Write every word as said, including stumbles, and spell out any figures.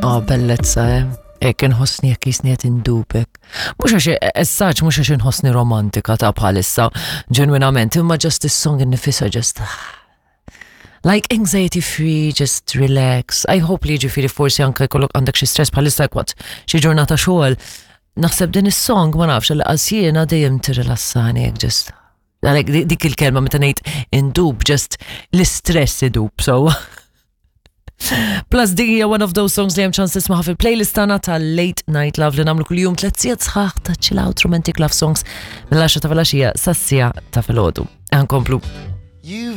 Oh, bellezza, eh? Ek inħossni jekk jisni qed indubek. Mhux għax essaġ, mhux għax inħossni romantika ta' bħalissa, ġenwinament, imma just is-song innifisha just like anxiety free, just relax. I hope li ġifieri forsi anke jkollok għandek xi stress bħalissa kwat xi ġurnata xogħol. Naħseb din is-song ma nafx għal jiena dejjem tirrilassani hekk just Għalek dik il-kelma meta ngħid indub just l-istress idub, so. Plus din hija one of those songs li hemm ċans tismaħa fil-playlist tagħna tal-Late Night Love li nagħmlu kuljum tliet sigħat sħaħ ta' chill out romantic love songs mill-għaxra ta' filgħaxija sas-siegħa ta' filgħodu. Nkomplu. You've